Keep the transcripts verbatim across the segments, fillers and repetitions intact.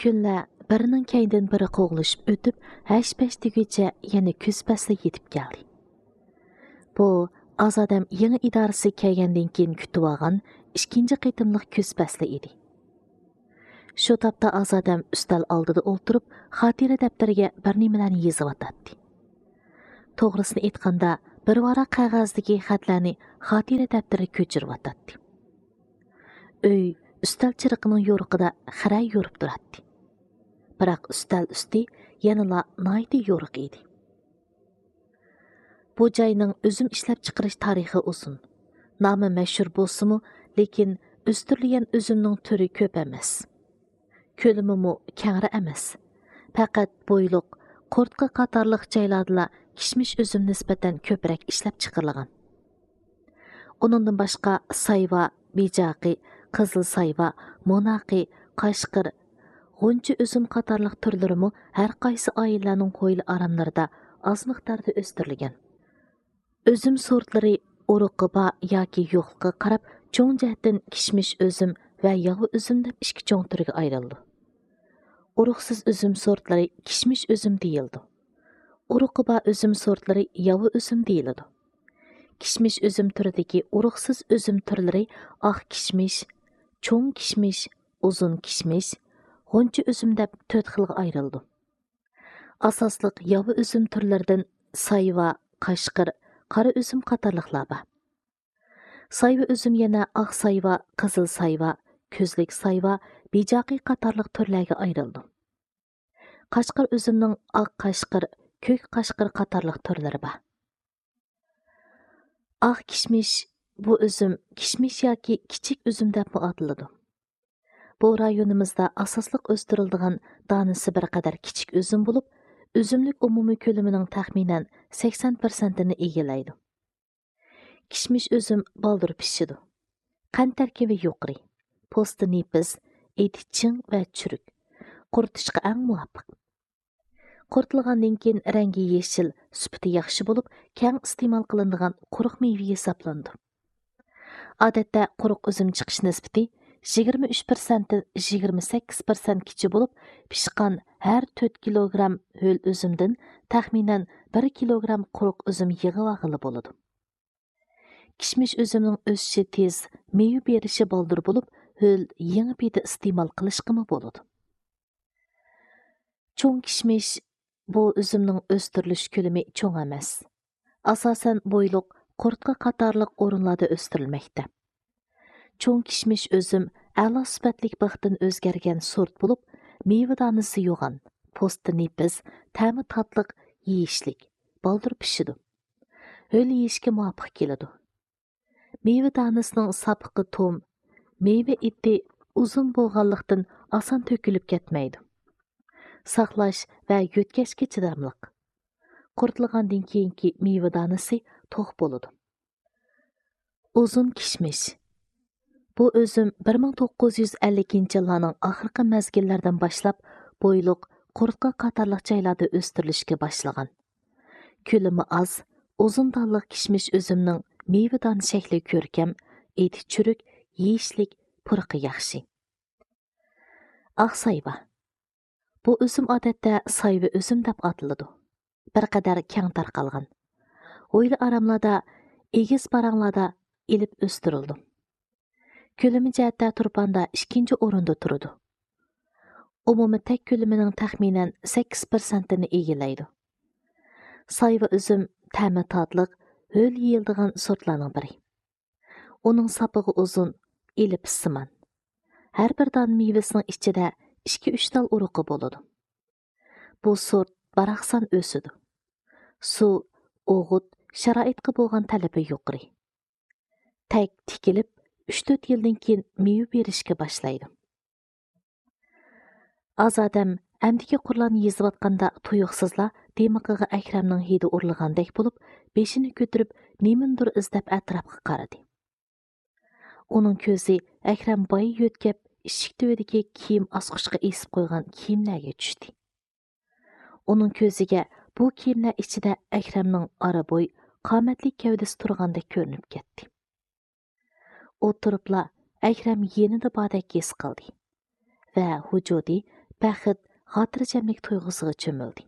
كۈنلەر بىرىنىڭ كەينىدىن بىرى قوغلىشىپ ئۆتۈپ، ھەش-پەش دېگۈچە يەنە كۈز پەسلى يېتىپ كەلدى. بۇ ئازادەم يېڭى ئىدارىسى كەلگەندىن كېيىن كۈتۈۋالغان ئىككىنچى قېتىملىق كۈز پەسلى ئىدى. شۇ تاپتا ئازادەم ئۈستەل ئالدىدا ئولتۇرۇپ، خاتىرە دەپتىرىگە بىر نېمىلەرنى يېزىۋاتاتتى. توغرىسىنى ئېيتقاندا، بىر ۋاراق قەغەزدىكى خەتلەرنى خاتىرە دەپتىرىگە كۆچۈرۈۋاتاتتى. ئۆي ئۈستەل چىرىقىنىڭ يورۇقىدا خىرە يورۇپ تۇراتتى. بىراق ئۈستەل ئۈستى يەنىلا ناھايىتى يورۇق ئىدى. بۇ جاينىڭ ئۈزۈم ئىشلەپچىقىرىش تارىخى ئۇزۇن. نامى مەشھۇر بولسىمۇ، لېكىن ئۆستۈرۈلگەن ئۈزۈمنىڭ تۈرى كۆپ ئەمەس. كۆلىمىمۇ كەڭرى ئەمەس. پەقەت بويلۇق، قورتقا قاتارلىق جايلاردىلا كىشمىش ئۈزۈم نىسبەتەن كۆپرەك ئىشلەپچىقىرىلغان. ئۇنىڭدىن باشقا سايۋا، بىجاقى، قىزىل سايۋا، موناقى، قاشقىر، غۇنچە ئۈزۈم قاتارلىق تۈرلىرىمۇ ھەر قايسى ئائىلىلەرنىڭ ھويلا ئاراملىرىدا ئاز مىقداردا ئۆستۈرۈلگەن. ئۈزۈم سورتلىرى ئۇرۇقى بار ياكى يوقلۇقىغا قاراپ، چوڭ جەھەتتىن كىشمىش ئۈزۈم ۋە ياۋا ئۈزۈم دەپ ئىككى چوڭ تۈرگە ئايرىلىدۇ. ئۇرۇقسىز ئۈزۈم سورتلىرى كىشمىش ئۈزۈم دېيىلىدۇ. ئۇرۇقى بار ئۈزۈم سورتلىرى ياۋا ئۈزۈم دېيىلىدۇ. كىشمىش ئۈزۈم تۈرىدىكى ئۇرۇقسىز ئۈزۈم تۈرلىرى ئاق كىشمىش، چوڭ كىشمىش، ئۇزۇن كىشمىش، غۇنچە ئۈزۈم دەپ تۆت خىلغا ئايرىلىدۇ. ئاساسلىق ياۋا ئۈزۈم تۈرلىرىدىن سايۋا، قاشقىر، قارا ئۈزۈم قاتارلىقلار بار. سايۋا ئۈزۈم يەنە ئاق سايۋا، قىزىل سايۋا، كۆزلۈك سايۋا، بىجاقى قاتارلىق تۈرلەرگە ئايرىلىدۇ. قاشقىر ئۈزۈمنىڭ ئاق قاشقىر، كۆك قاشقىر قاتارلىق تۈرلىرى بار. ئاق كىشمىش، بۇ ئۈزۈم كىشمىش ياكى كىچىك ئۈزۈم دەپمۇ ئاتىلىدۇ. بۇ رايونىمىزدا ئاساسلىق ئۆستۈرۈلىدىغان دانىسى بىر قەدەر كىچىك ئۈزۈم بولۇپ، ئۈزۈملۈك ئومۇمىي كۆلىمىنىڭ تەخمىنەن سەكسەن پىرسەنتىنى ئىگىلەيدۇ. كىشمىش ئۈزۈم بالدۇر پىشىدۇ. قەنت تەركىبى يۇقىرى. پوستى نېپىز، ئېتى چىڭ ۋە چۈرۈك. قۇرۇتۇشقا ئەڭ مۇۋاپىق. قۇرۇتۇلغاندىن كېيىن رەڭگى يېشىل، سۈپىتى ياخشى بولۇپ، كەڭ ئىستېمال قىلىنىدىغان قۇرۇق مېۋە ھېسابلىنىدۇ. ئادەتتە قۇرۇق ئۈزۈم چىقىش نىسبىتى يىگىرمە ئۈچ پىرسەنتتىن يىگىرمە سەككىز پىرسەنتكىچە بولۇپ، پىشقان ھەر تۆت كىلوگرام ھۆل ئۈزۈمدىن تەخمىنەن بىر كىلوگرام قۇرۇق ئۈزۈم يىغىۋالغىلى بولىدۇ. كىشمىش ئۈزۈمنىڭ ئۆسۈشى تېز، مېۋە بېرىشى بالدۇر بولۇپ، ھۆل يېڭى پېتى ئىستېمال قىلىشقىمۇ بولىدۇ. چوڭ كىشمىش، بۇ ئۈزۈمنىڭ ئۆستۈرۈلۈش كۆلىمى چوڭ ئەمەس. ئاساسەن بويلۇق، قۇرۇتقا قاتارلىق ئورۇنلاردا ئۆستۈرۈلمەكتە. چوڭ كىشمىش ئۈزۈم ئەلا سۈپەتلىك بىختىن ئۆزگەرگەن سورت بولۇپ، مېۋە دانىسى يوغان، پوستى نېپىز، تەمى تاتلىق، يېيىشلىك، بالدۇر پىشىدۇ. ھۆل يېيىشكە مۇۋاپىق كېلىدۇ. مېۋە دانىسىنىڭ ساپىقى توم، مېۋە ئېتى ئۇزۇن بولغانلىقتىن ئاسان تۆكۈلۈپ كەتمەيدۇ. ساقلاش ۋە يۆتكەشكە چىداملىق. قۇرۇتۇلغاندىن كېيىنكى مېۋە دانىسى توق بولىدۇ. ئۇزۇن كىشمىش. بۇ ئۈزۈم بىر مىڭ توققۇز يۈز ئەللىكىنچى يىللارنىڭ ئاخىرقى مەزگىللەردىن باشلاپ بويلۇق، قۇرۇتقا قاتارلىق جايلاردا ئۆستۈرۈلۈشكە باشلىغان. كۆلىمى ئاز، ئۇزۇن دانلىق كىشمىش ئۈزۈمنىڭ مېۋە دانە شەكلى كۆركەم، ئېتى چۈرۈك، يېيىشلىك، پۇرىقى ياخشى. ئاق سايۋا. بۇ ئۈزۈم ئادەتتە سايۋا ئۈزۈم دەپ ئاتىلىدۇ. بىر قەدەر كەڭ تارقالغان. ھويلا ئاراملاردا، ئېگىز پاراڭلاردا ئېلىپ ئۆستۈرۈلىدۇ. كۆلىمى جەھەتتە تۇرپاندا ئىككىنچى ئورۇندا تۇرىدۇ. ئومۇمىي تەك كۆلىمىنىڭ تەخمىنەن سەككىز پىرسەنتىنى ئىگىلەيدۇ. سايۋا ئۈزۈم تەمى تاتلىق، ھۆل يېيىلىدىغان سورتلارنىڭ بىرى. ئۇنىڭ ساپىقى ئۇزۇن، ئېلىپىسسىمان. ھەر بىر دانە مېۋىسىنىڭ ئىچىدە ئىككى-ئۈچ تال ئۇرۇقى بولىدۇ. بۇ سورت باراقسان ئۆسىدۇ. سۇ، ئوغۇت، شارائىتقا بولغان تەلىپى يۇقىرى. تەك تىكىلىپ، ئۈچ-تۆت يىلدىن كېيىن مېۋە بېرىشكە باشلايدۇ. ئازادەم ئەمدىكى قۇرلارنى يېزىۋاتقاندا تۇيۇقسىزلا دىمىقىغا ئەكرەمنىڭ ھىدى ئۇرۇلغاندەك بولۇپ، بېشىنى كۆتۈرۈپ، نېمىندۇر ئىزدەپ ئەتراپقا قارىدى. ئۇنىڭ كۆزى ئەكرەم بايا يۆتكەپ، ئىشىك تۈۋىدىكى كىيىم ئاسقۇچقا ئېسىپ قويغان كىيىملەرگە چۈشتى. ئۇنىڭ كۆزىگە بۇ كىيىملەر ئىچىدە ئەكرەمنىڭ ئارا بوي، قامەتلىك گەۋدىسى تۇرغاندەك كۆرۈنۈپ كەتتى. ئولتۇرۇپلا ئەكرەم يېنىدا باردەك ھېس قىلدى ۋە ۋۇجۇدى بەخت، خاتىرجەملىك تۇيغۇسىغا چۆمۈلدى.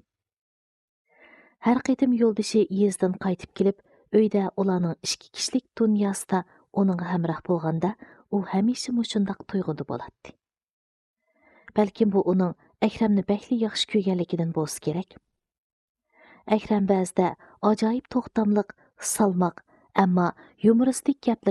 ھەر قېتىم يولدىشى يېزىدىن قايتىپ كېلىپ، ئۆيدە ئۇلارنىڭ ئىككى كىشىلىك دۇنياسىدا ئۇنىڭغا ھەمراھ بولغاندا، ئۇ ھەمىشە مۇشۇنداق تۇيغۇدا بولاتتى. بەلكىم بۇ ئۇنىڭ ئەكرەمنى بەكلا ياخشى كۆرگەنلىكىدىن بولسا كېرەك. ئەكرەم بەزىدە ئاجايىپ توختاملىق، سالماق، ئەمما يۇمۇرىستىك گەپلىرى